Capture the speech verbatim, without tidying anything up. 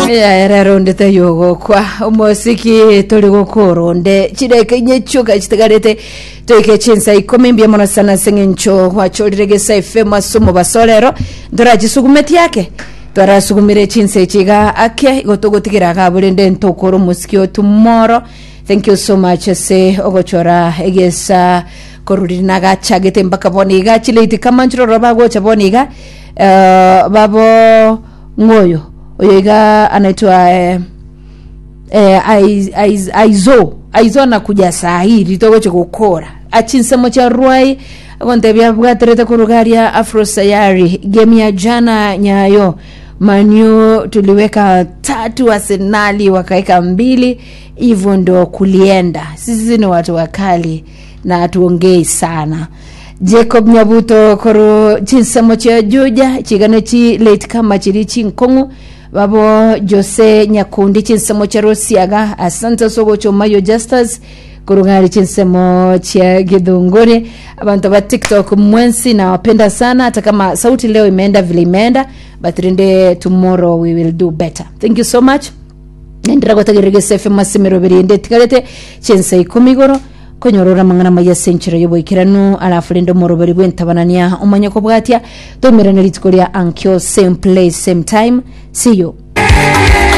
Erero onde tayogokwa omosiki tori gokora onde chireke inye chioka chitigarete toike chinsa ikomi. Mbuya mono sana ase eng'encho gwachorire Gesa F M ase omobaso rero ntorachisugumetie ake twarasugumire chinsa echi iga ake igo togotigera iga abwo rende ntokora omosiki o tomorrow. Thank you so much ase ogochora Egesa koruriri nagachagete mpaka bono iga chilate kama nchiroro bagocha bono iga. eh, babo ng'oyo oyo iga anaitwa eh, eh, Aiz- Aiz- aizo aizo anakuja saa hii ritogoche gukora achinsemo cha Rwai agontebia bwaterete kurugaria Afro Sayari. Game ya jana Nyayo Manu tuliweka tatu, Arsenali wakaweka mbili, hivyo ndo kulienda. Sisi ni watu wakali na hatuongei sana. Jacob Nyabuto koru chinsemo chia Juja chigano chi late kama chiri chinkong'u. Babo Jose Nyakundi chinsemo chia Rosiaga, asante sogocho. Mayo Justus kurugari chinsemo chia Githunguri. Abantu ba TikTok mwensi nawapenda sana, hata kama sauti leo imeenda vile imeenda, but rende tomorrow we will do better. Thank you so much. Nendera gotagerera F M asemero birinde tigarete chinsa ikumi igoro konyorora mang'ana maya senchero yoboikeranu, alafu rende omoroberi bwentabanania omanye kobwatia tomerane rituko ria ankio, same place, same time. See you.